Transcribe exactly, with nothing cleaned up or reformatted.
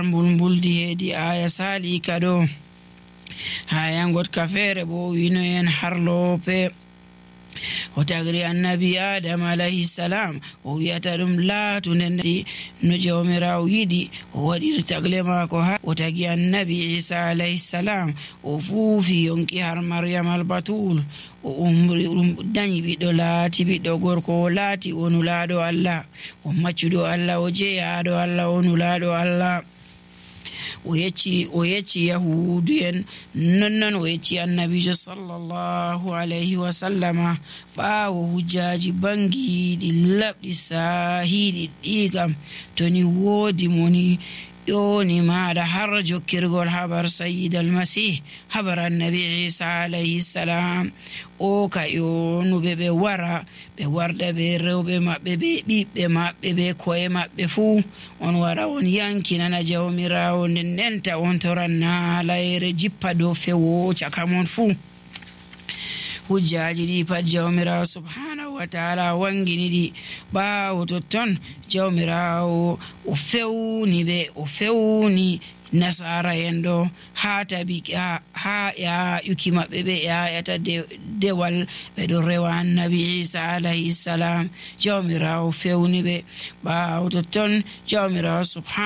nder mbulmbuldi heedi aya sali ka ɗo. haya gotka feere bo winoyen har loope o tagri annabi adam alayhi salam o wiyata ɗum laatu nde no jawmirawo yiɗi o waɗiri tagle maako ha o tagi annabi isa alayhi salam o fuufi yonki har maryam albatul o umri ɗum dañi ɓiɗɗo laati ɓiɗɗo gorko o laati o nulaaɗo allah o maccuɗo allah o jeyaɗo allah o nulaaɗo allah o yecci o yecci yahudu en nonnon o yecci annabijo sallallahu alayhi wa sallama ɓaawo hujjaji bangiɗi laɓɗi sahiɗi ɗi kam to ni woodi moni ƴoni maɗa har jokkirgol habar sayyid almasih habar annabi isa alayhi salam o ka ƴonuɓe ɓe wara ɓe warda ɓe rewɓe maɓɓe ɓe ɓiɓɓe maɓɓe ɓe koye maɓɓe fuu on wara on yankinana jawmirawo nden ndenta on toran naalayre jippa dow fewo caka mon fuu. hujjaji ɗi pat jawmirawo subhanahu wa taala wangini ɗi ɓaawo totton jawmirawo o fewni ɓe o fewni nasara en ɗo ha tabi ha ƴaƴuki maɓɓe ɓe ƴaƴata dewal ɓe ɗo rewa annabi isa alayhi salam jawmirawo fewni ɓe ɓaawo totton jawmirawo subhanahu